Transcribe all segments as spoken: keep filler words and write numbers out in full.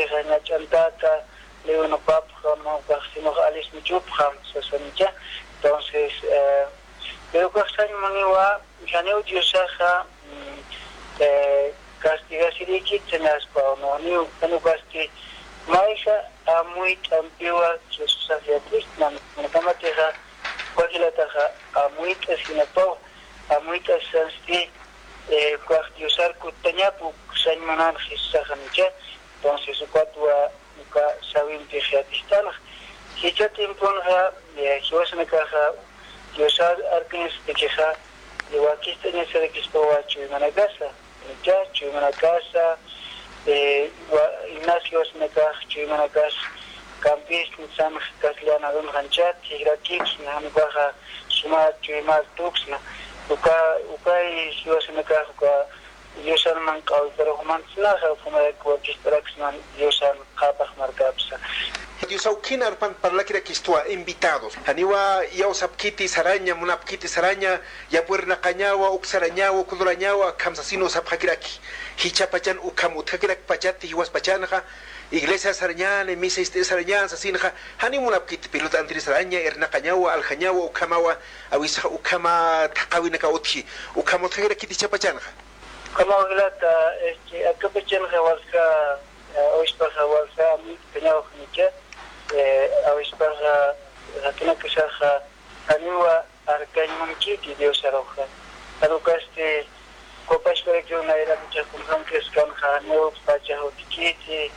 Ñach'antaka, liwinupapxam, ukax sinux alisnichupxam, sasanicha. Entonces, eh, pero ukax sañ muniwa, janiw Diosaxa, mm, eh, castigasirïkit sañaspaw, ¿no? Janiw, janiw casti, mayja amuyt'ampiwa Jesusax yatistnan, kunjamatixa, uka jilataxa, amuyt'asinapaw, amuyt'asisansti, eh, ukax Diosar kuttañap, uk sañ munan Jesusaxanicha. Entonces, ukatwa, uka sawimpi yatistanxa. Jichha tiemponxa, eh, jiwasanakaxa, Diosar arkañasatakixa, eh, wakist'añasarakispawa chuymanakasa, ¿no? Chuymanakasa, eh, wa-, inas jiwasanakax, chuymanakas, campista, sanx, castellano arunxanchat, jirakipsna, jan ukaxa, suma chuymar tuksna, uka, ukay jiwasanakax, uka, Diosan manq'awitarux mantsnaxa, ukhamarak wakist'araksnan Diosan qhapaq markapsa. Dios awkin arpan parlakirakistwa invitados. Janiwa iyawsapkiti saraña, munapkiti saraña, yapwirnaqañawa, uksarañawa, ukudurañawa, akham sasin sapxakiraki. Jichhapachan ukham utjakirakpachati jiwaspachanxa, iglesia sarañani, misa ist'i sarañan sasinxa, janiw munapkiti pelota antiri saraña, irnaqañawa, aljañawa, ukhamawa, awisaxa ukhama thaqhawinaka utji, ukham utjakirakiti jichhapachanxa. Ukhamaw jilata, este, akapachanxa walja, eh, awispaxa walja, amuyt'añawxanicha, eh, awispaxa, jakinakasaxa, janiwa arkañ munkiti Diosaruxa. Jan ukasti, copasparakiw nayrakicha kunjam crescanxa, janiw pachax utkiti,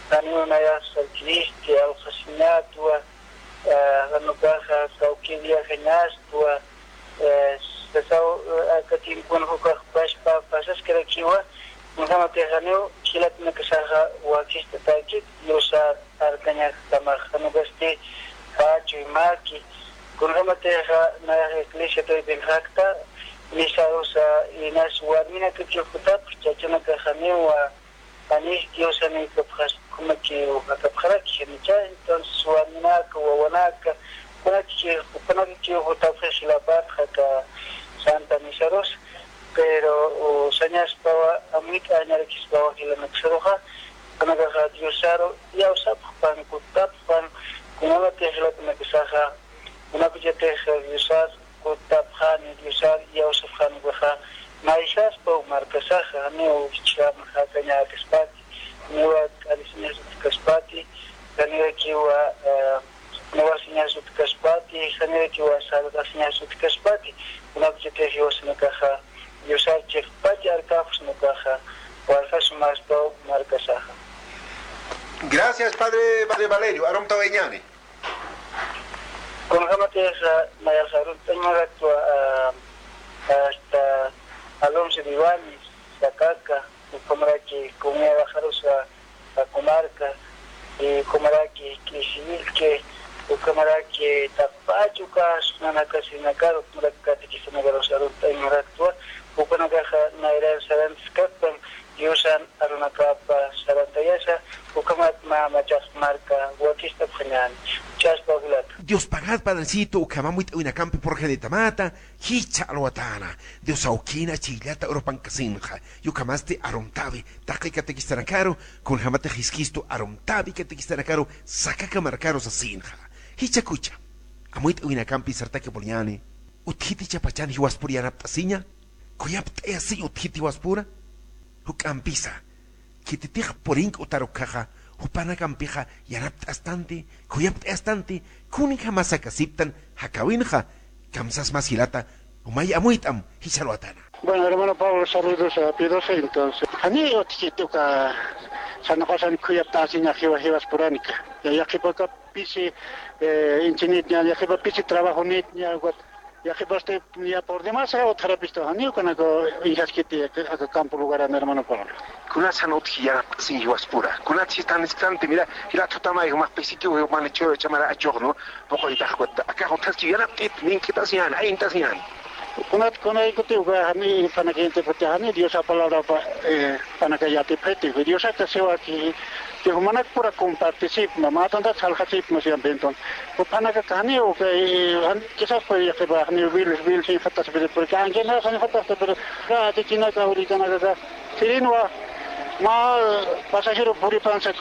janiw nayax sarkiristi, alxasiñatwa, eh, jan ukaxa, kawkïr viajañastwa, eh, sasaw, eh, aka tiemponxa ukax paspa, pasaskarakiwa, kunjamatix janiw jilatanakasaxa wakist'atäkit, Diosar arkañakjamax, jan ukasti, pä chuymaki, kunjamatixa nayax iglesia taypinxakta, misarusa, inas warminakakiw jutapxi, chachanakax janiwa, Janis Diosan ikapxas, ukhamakiw jakapxaraki, janicha, entonces, warminaka, wawanaka, kunatki, kunatkiw jutapxi jilapatxa aka Santa Misarus, pero, o, sañaspawa, amuyt'añarakispawa jilanaksaruxa, kunakaxa Diosaru, iyawsapxpan, kuttapxpan, kunatki jilatanakasaxa, kunakachatix Diosar, kuttapxani, Diosar iyawsapxani ukaxa, naysaspaw markasaxa, janiw jichham jakañäkaspati, janiwa k'arisiñas utjkaspati, janiwa kiwa, eh, nawasiñas utjkaspati, janiwa kiwa salvasiñas utjkaspati, kunakachatix jiwasanakaxa, Diosar chiqpach arkaxsna ukaxa, walja sumaspaw markasaxa. Gracias, padre, padre Valerio, arumtawayñäni. Kunjamatixa, nayax arunt'añ maraktwa, ah, hasta Alonso de Ibáñez, Sacaca, ukhamaraki comunidad Bajarusa, Sacumarca, y ukhamaraki K'isiwilque, ukhamaraki Taqpach uka, nanakasinakaru, ukhamaraki catequistanakarusa arunt'añ maraktwa, ukanakaxa nayrar sarantaskakpan, Diosan arunakapa sarantayasa, ukhamat mä machax marka wakist'apxañäni. Chaspa jilata. Dios pagad, Padrecito, ukham amuyt'awinakampi purxanitamata, jichha alwatäna. Dios awkina, chhijllata urpankasinxa. Ukhamasti arumtäwi, taqi catequistanakaru, kunjamatix Jesucristo arumtäwi catequistanakaru, Sacaca markaru sasinxa. Jichhakucha. Amuyt'awinakampi sartaki puriñäni. Utjiti jichhapachan jiwaspur yanapt'asiña. Khuyapt'ayasiñ utjiti jiwaspura. Juk'ampisa, khititix purink'utar ukkhaxa, jupanakampixa yanapt'astanti, khuyapt'ayastanti, kunjama sakasiptan jakäwinxa, kamsas mas jilata, umay amuyt'am, jichha alwatäna. Bueno, hermano Pablo, saludos a Pío doce, entonces. Janiw utjkiti uka, sarnaqasan khuyapt'asiñax jiwa, jiwaspuranika. Ya, yaqhipa uka pisi, eh, inchinitña, yaqhipa pisi trabajonitña, ukat, yaqhipasti ya por demás utjarapistu, janiw ukanaka uñjaskiti aka, aka campo lugaran, hermano Pablo. Kunatsan utji yanapt'asiñ jiwaspura, kunatsi tanisktanti, mira, jila tutamay jumax pisikiw, jumax ch'amara achuxnu, puquytax ukat, akax utjaski yanapt'it, nink'itasiñäni, ayintasiñäni. Kunat, kunaykutiw uka, janiw jupanaka yatipxiti, janiw Diosa palabrapa, eh, jupanaka yatipxiti, Diosaka siwaki, que jumanakpura compartisipma, mä tantat salxasipma siempre, entonces. Jupanakax janiw, eh, jan-, quizás pues, yaqhipa, janiw wil, wil sinxatasipiri, porque aunque no sinxatasta, pero, ka, atikinaka, urikanakaxa, sirinwa, mä pasajero puripansa,